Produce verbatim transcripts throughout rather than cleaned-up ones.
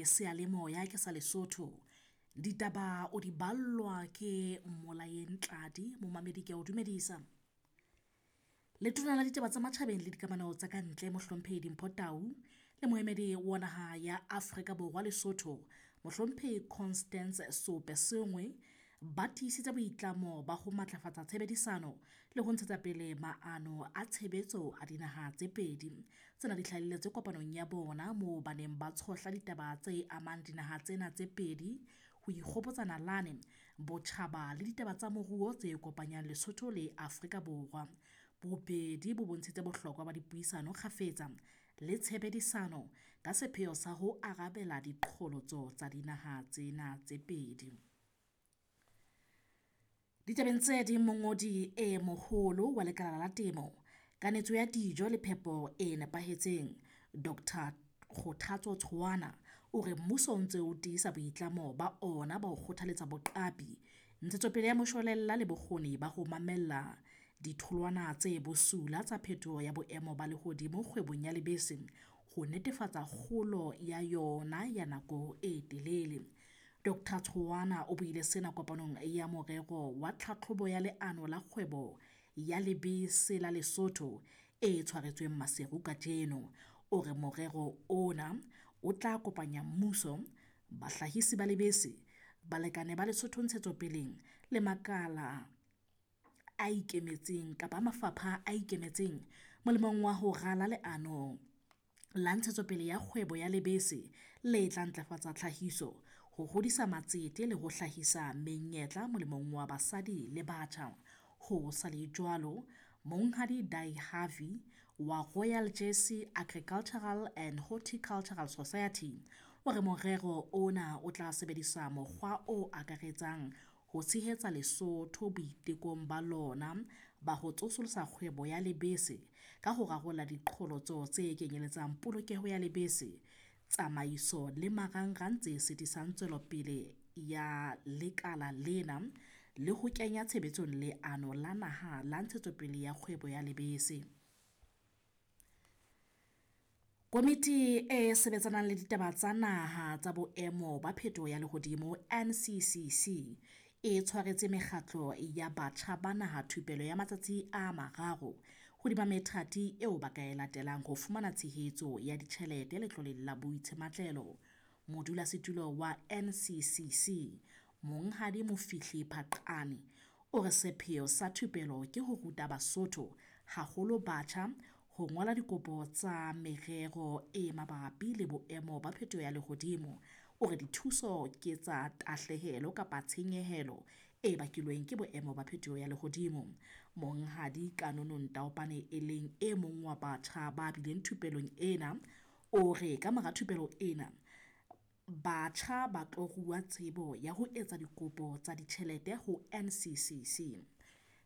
le seyalemoya ke sa Lesotho. Ditaba o di ballwa ke Molaeng Tladi, momamedi ke a o dumedisa. Letona la ditaba tsa matjhabeng le dikamano tsa kantle Mohlomphehi Dimpho Tau le moemedi wa naha ya Afrika Borwa Lesotho Mohlomphehi Constance Seopesenwe ba tiisitse boitlamo ba ho matlafatsa tshebedisano le ho ntshetsa pele maano a tshebetso a dinaha tse pedi. Tsena di hlahelletse kopanong ya bona moo ba neng ba tshohla ditaba tse amang dinaha tsena tse pedi, ho ikgopotsa nalane, botjhaba le ditaba tsa moruo tse kopanyang Lesotho le Afrika Borwa. Bobedi bo bontshitse bohlokwa ba dipuisano kgafetsa le tshebedisano ka sepheo sa ho arabela diqholotso tsa dinaha tsena tse pedi. Ditabeng tse ding, mongodi e moholo wa lekala la temo, kanetso ya dijo le phepo e nepahetseng Doctor Kgothatso Tshoana o re mmuso o ntse o tiisa boitlamo ba ona ba ho kgothaletsa boqapi, ntshetsopele ya moshwelella le bokgoni ba ho mamella ditholwana tse bosula tsa phetoho ya boemo ba lehodimo kgwebong ya lebese ho netefatsa kgolo ya yona ya nako e telele. Doctor Tshoana o buile sena kopanong ya morero wa tlhatlhobo ya leano la kgwebo ya lebese la Lesotho e tshwaretsweng Maseru kajeno. O re morero ona o tla kopanya mmuso, bahlahisi ba lebese, balekane ba Lesotho ntshetsopeleng le makala a ikemetseng kapa mafapha a ikemetseng molemong wa ho rala leano la ntshetsopele ya kgwebo ya lebese le tla ntlafatsa tlhahiso, ho hodisa matsete le ho hlahisa menyetla molemong wa basadi le batjha. Ho sa le jwalo, Monghadi Dai Harvey wa Royal Jersey Agricultural and Horticultural Society o re morero ona o tla sebedisa mokgwa o akaretsang ho tshehetsa Lesotho boitekong ba lona ba ho tsosolosa kgwebo ya lebese ka ho rarolla diqholotso tse kenyeletsang polokeho ya lebese, tsamaiso le marangrang tse sitisang tswelopele ya lekala lena le ho kenya tshebetsong leano la naha la ntshetsopele ya kgwebo ya lebese. Komiti e sebetsanang le ditaba tsa naha tsa boemo ba phetoho ya lehodimo N C C C e tshwaretse mekgatlo ya batjha ba naha thupelo ya matsatsi a mararo hodima methati eo ba ka e latelang ho fumana tshehetso ya ditjhelete letloleng la boitshematlelo. Modulasetulo wa N C C C Monghadi Mofihli Phaqane o re sepheo sa thupelo ke ho ruta Basotho, haholo batjha, ho ngola dikopo tsa merero e mabapi le boemo ba phetoho ya lehodimo. O re dithuso ke tsa tahlehelo kapa tshenyehelo e bakilweng ke boemo ba phetoho ya lehodimo. Monghadi Kanono Ntaopane e leng e mong wa batjha ba bileng thupelong ena, o re ka mora thupelo ena batjha ba tlo rua tsebo ya ho etsa dikopo tsa ditjhelete ho N C C C.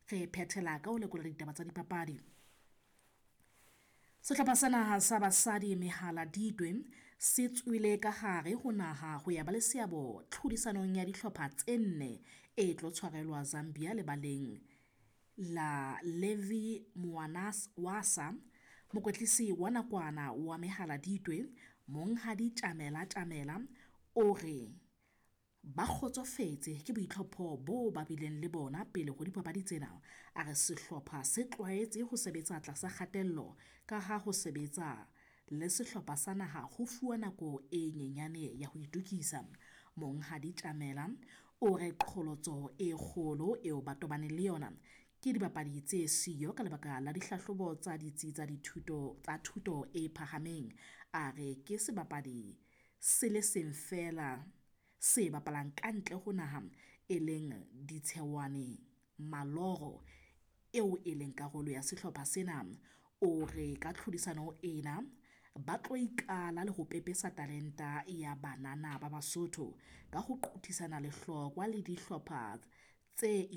Re phethela ka ho lekola ditaba tsa dipapadi. Sehlopha sa naha sa basadi Mehala Ditwe se tswile ka hare ho naha ho ya ba le seabo tlhodisanong ya dihlopha tse nne e tlo tshwarelwa Zambia lebaleng la Levy Mwanawasa. Mokwetlisi wa nakwana wa Mehala Ditwe Monghadi Tjamela Tjamela o re ba kgotsofetse ke boitlhopho bo ba bileng le bona pele ho dipapadi tsena. A re sehlopha se tlwaetse ho sebetsa tlasa kgatello ka ha ho sebetsa le sehlopha sa naha ho fuwa nako e nyenyane ya ho itokisa. Monghadi Tjamela o re qholotso e kgolo eo ba tobaneng le yona ke dibapadi tse siyo ka lebaka la dihlahlobo tsa ditsi tsa dithuto tsa thuto e phahameng. A re ke sebapadi se le seng feela se bapalang ka ntle ho naha e leng Ditshewane Maloro eo e leng karolo ya sehlopha sena. O re ka tlhodisano ena ba tlo ikala le ho pepesa talenta ya banana ba Basotho ka ho qothisana lehlokwa le dihlopha tse